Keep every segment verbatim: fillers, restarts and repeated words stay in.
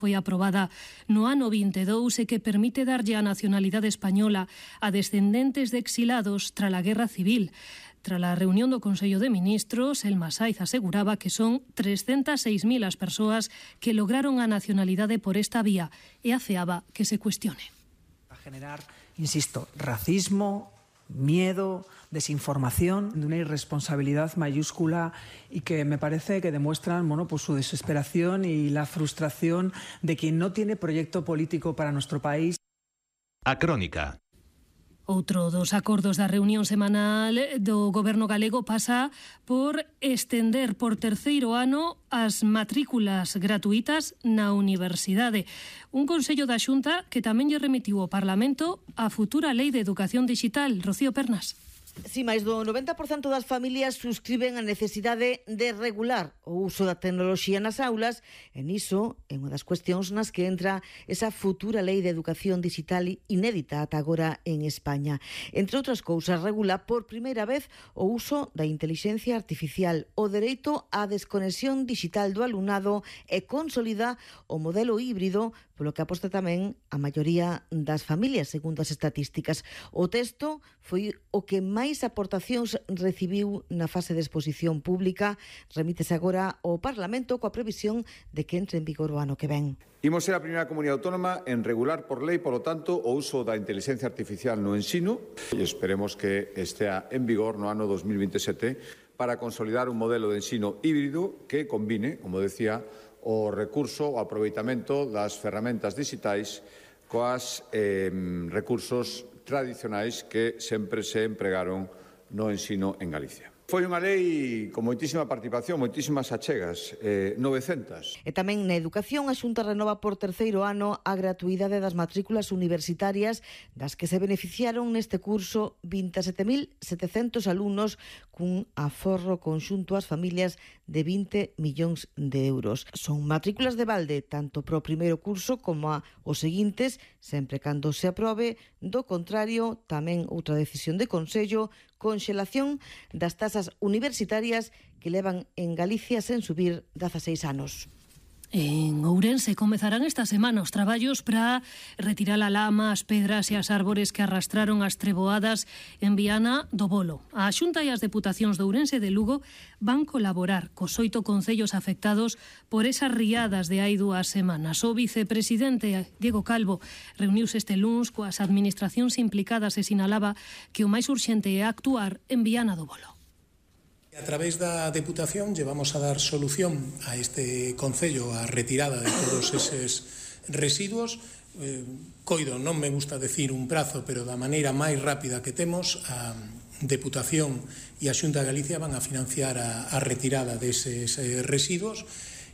foi aprobada no ano vinte e dous e que permite darlle a nacionalidade española a descendentes de exilados tras a Guerra Civil. Tras a reunión do Consello de Ministros, Elma Saiz aseguraba que son trescentas seis mil as persoas que lograron a nacionalidade por esta vía e afeaba que se cuestione. A generar, insisto, racismo, miedo, desinformación, de una irresponsabilidad mayúscula y que me parece que demuestran bueno, pues su desesperación y la frustración de quien no tiene proyecto político para nuestro país. A Crónica. Outro dos acordos da reunión semanal do Goberno galego pasa por estender por terceiro ano as matrículas gratuitas na universidade. Un Consello da Xunta que tamén lle remitiu ao Parlamento a futura Lei de Educación Digital. Rocío Pernas. Si máis do noventa por cento das familias suscriben a necesidade de regular o uso da tecnoloxía nas aulas, e niso é unha das cuestións nas que entra esa futura lei de educación digital inédita ata agora en España. Entre outras cousas, regula por primeira vez o uso da intelixencia artificial, o dereito á desconexión digital do alumnado e consolida o modelo híbrido, polo que aposta tamén a maioría das familias, segundo as estatísticas. O texto foi o que máis aportacións recibiu na fase de exposición pública. Remítese agora ao Parlamento coa previsión de que entre en vigor o ano que ven. Imos ser a primeira comunidade autónoma en regular por lei, polo tanto, o uso da inteligencia artificial no ensino e esperemos que estea en vigor no ano dos mil veintesete para consolidar un modelo de ensino híbrido que combine, como decía, o recurso, o aproveitamento das ferramentas digitais coas eh, recursos tradicionais que sempre se empregaron no ensino en Galicia. Foi unha lei con moitísima participación, moitísimas achegas, eh, novecentas. E tamén na educación, a Xunta renova por terceiro ano a gratuidade das matrículas universitarias das que se beneficiaron neste curso vinte e sete mil setecentos alumnos cun aforro conxunto ás familias de vinte millóns de euros. Son matrículas de balde tanto para o primeiro curso como a os seguintes, sempre cando se aprobe. Do contrario, tamén outra decisión de Consello, conxelación das tasas universitarias que levan en Galicia sen subir dezaseis anos. En Ourense comezarán esta semana os traballos para retirar a lama, as pedras e as árbores que arrastraron as treboadas en Viana do Bolo. A Xunta e as Deputacións de Ourense e de Lugo van colaborar cos oito concellos afectados por esas riadas de hai dúas semanas. O vicepresidente Diego Calvo reuniuse este luns coas administracións implicadas e sinalaba que o máis urxente é actuar en Viana do Bolo. A través da Deputación llevamos a dar solución a este concello a retirada de todos eses residuos. Eh, coido, non me gusta decir un prazo, pero da maneira máis rápida que temos, a Deputación e a Xunta de Galicia van a financiar a, a retirada deses eh, residuos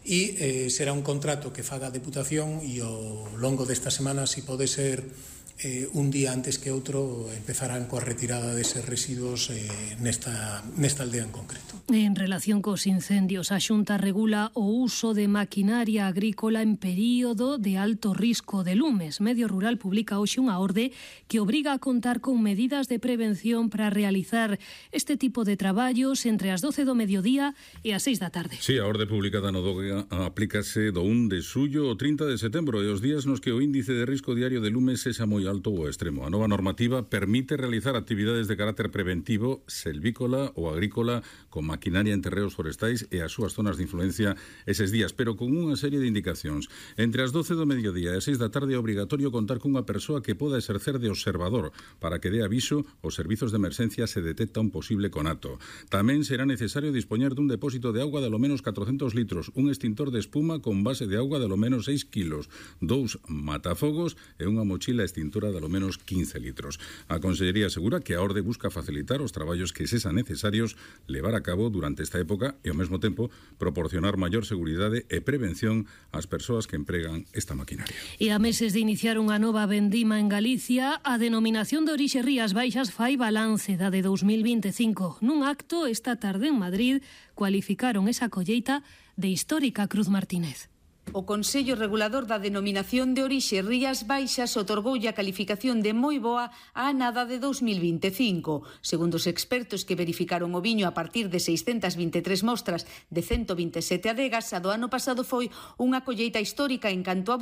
e eh, será un contrato que faga a Deputación e ao longo desta semana, se pode ser Eh, un día antes que outro, empezarán coa retirada deses residuos eh, nesta, nesta aldea en concreto. En relación cos incendios, a Xunta regula o uso de maquinaria agrícola en período de alto risco de lumes. Medio Rural publica hoxe unha orde que obriga a contar con medidas de prevención para realizar este tipo de traballos entre as doce do mediodía e as seis da tarde. Sí, a orde publicada no DOGA aplícase do un de xullo ao trinta de setembro e os días nos que o índice de risco diario de lumes sexa moi alto ou extremo. A nova normativa permite realizar actividades de carácter preventivo, selvícola ou agrícola, con maquinaria en terreos forestais e as súas zonas de influencia eses días, pero con unha serie de indicacións. Entre as doce do mediodía e as seis da tarde é obrigatorio contar cunha persoa que poda exercer de observador para que dé aviso aos servizos de emerxencia se detecta un posible conato. Tamén será necesario dispoñer dun depósito de auga de lo menos catrocentos litros, un extintor de espuma con base de auga de lo menos seis kilos, dous matafogos e unha mochila extintora de lo menos quince litros. A Consellería asegura que a orde busca facilitar os traballos que sexan necesarios levar a cabo durante esta época e ao mesmo tempo proporcionar maior seguridade e prevención ás persoas que empregan esta maquinaria. E a meses de iniciar unha nova vendima en Galicia, a denominación de orixe Rías Baixas fai balance da de dos mil vinte e cinco. Nun acto esta tarde en Madrid cualificaron esa colleita de histórica. Cruz Martínez. O Consello Regulador da Denominación de Orixe Rías Baixas otorgoulle a calificación de moi boa á anada de dos mil vinte e cinco. Segundo os expertos que verificaron o viño a partir de seiscentas vinte e tres mostras de ciento vinte e sete adegas, a do ano pasado foi unha colleita histórica en canto a